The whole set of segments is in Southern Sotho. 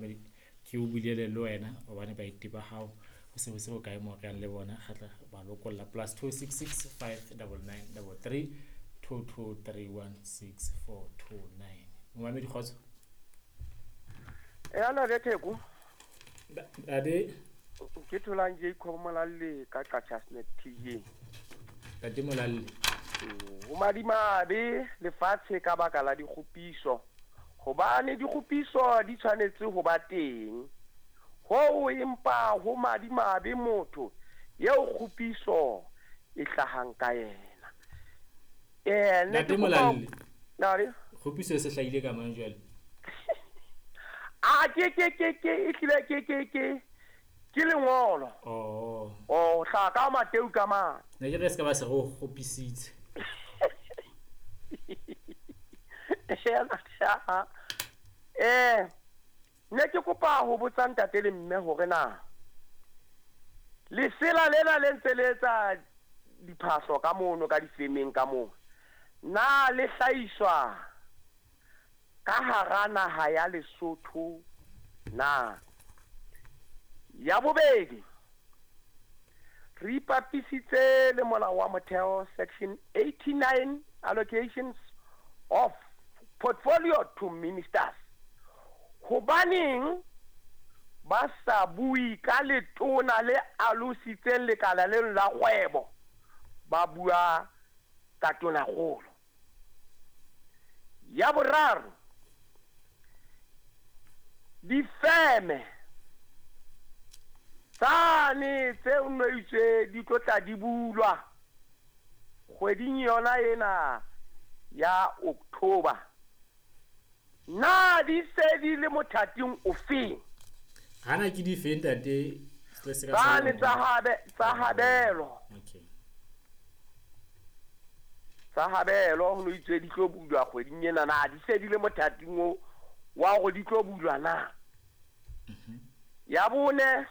Ke o bulele le wena hobane baeti ba hao ho se ho se hokae moo re yang le bona, re tla ba lokolla. +266 599 33 22 31 6429. Momamedi, kgotso. E ana le Theko. Ade. Ke tholang Jacob Molalle ka Qacha's Nek TJ. Ntate Molalle. Ho madimabe lefatshe ka baka la dikgopiso, hobane dikgopiso di tshwanetse ho ba teng. Hoo empa ho madimabe motho eo kgopiso e hlahang ka yena. Ne Ntate ke kopa Molalle. Ntate. Kgopiso e se hlahile ka mang jwale? A ke e hlile ke lengolo. Oh. Oh, hlaha ka Mateu ka mang? Ne ke re se ka ba se re o kgopisitse. Ne ke kopa ho botsa ntate le mme hore na lesela lena le ntse le etsa diphahlo ka mono ka difemeng ka moo, na le hlahiswa ka hara naha ya Lesotho na? Ya bobedi, re ipapisitse le molao wa motheo section 89 allocations of portfolio to ministers. Hobaneng ba sa bue ka letona le alositseng lekala leno la kgwebo, ba bua ka tonakgolo? Ya boraro, difeme tsane tse nweitswe di tlo tla di bulwa kgweding yona ena ya October, na di se di le mothating ofeng? Hana ke di feng, ntate? Se se ka Tsane sa- tsa habelo. Okay. Tsa habelo ho no itswe di tlo bulwa kgweding ena, na di se di le mothating o wa hore di tlo bulwa na? Ya bone,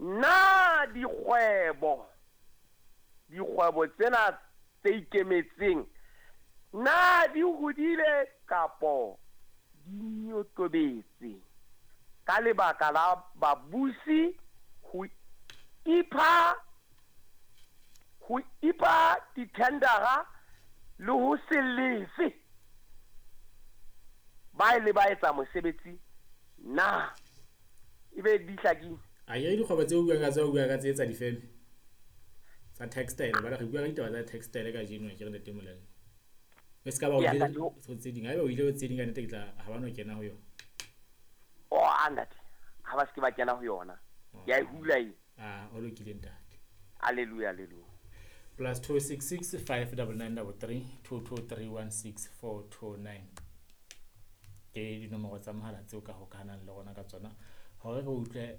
na dikgwebo tsena tse ikemetseng na di hodile kapo di nyotobetse ka lebaka la babusi ho ipha dithendara le ho se lefe ba ile ba etsa mosebetsi na? Ebe di hlakile? A ke dikgwebo tse o buang ka tsona, o bua ka tse tsa difeme tsa textile, ba re bua ka ditaba tsa textile kajeno, ke re ntate Molalle. E se ka ba o Ya, ile ntate, ho tse ding, haeba o ile ho tse ding ka nnete ke tla ha ba no kena ho yona. Oh, a ntate, ha ba se ke ba kena ho yona. Ke a e hula e. Ah, o lokile ntate. Hallelujah, hallelujah. +266 599 33 223 16429 ke dinomoro tsa mohala tseo ka hokahanang le rona ka tsona hore re utlwe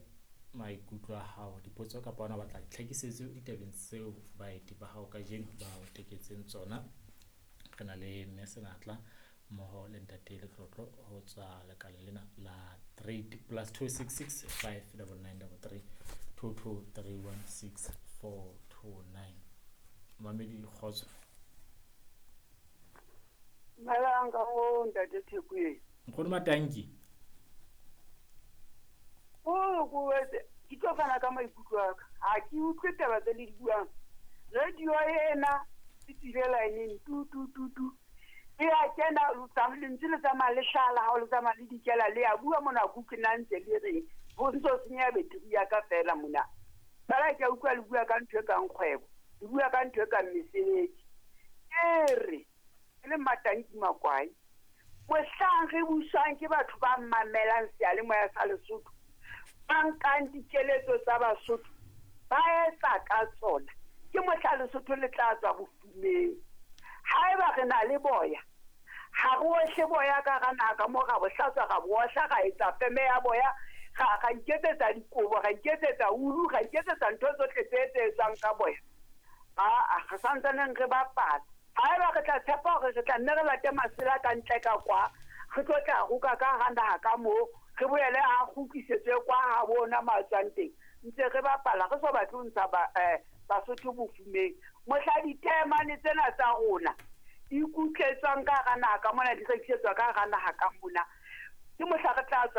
maikutlo a hao, dipotso kapa ona batla ditlhakisetso ditabeng tseo baeti ba hao kajeno ba o teketseng tsona. Re na le mme Senatla mmoho le ntate Letlotlo ho tswa lekaleng lena la trade. +266 599 33 22 31 6429. Mamedi, kgotso. Dumelang ka mo ntate Thekweng. Nkgono Matanki. O ko wetse ke tlo fana ka maikutlo a ka. Ha ke utlwe taba tse le di buang. Radio ena e tswile line-eng tu tu tu tu. E a kena lentswe le tsamaya le hlala ha o le tsamaya le dikela le a bua mona ke utlwe na ntse le reng. Ho ntso senya beteri ya ka fela mona. Fela ke a utlwa le bua ka ntho e kang kgwebo, le bua ka ntho e kang mesebetsi. Ke re ke le Matanki Makwai, mohlang re buswang ke batho ba mamelang seyalemoya sa Lesotho, ba nkang dikeletso tsa Basotho ba etsa ka tsona, ke mohla Lesotho le tla tswa bofumeng. Haeba re na le boya, ha re ohle boya ka hara naha ka moo, ra bo hlatswa, ra bo ohla, ra etsa feme ya boya, ra iketsetsa dikobo, ra iketsetsa ulu, ra iketsetsa ntho tsohle tse etswang ka boya. Aa, re santsaneng re bapala. Haeba re tla tshepa hore re tla nne re late masela ka ntle ka kwa, re tlo tla roka ka hara naha ka moo, re boele a kgutlisetswe kwa ha bona mo a tswang teng. Ntse re bapala, re so batle ho ntsha Basotho bofumeng. Mohla ditaemane tsena tsa rona di kutletswang ka hara naha ka mona, di rekisetswa ka hara naha ka mona, ke mohla re tla tswa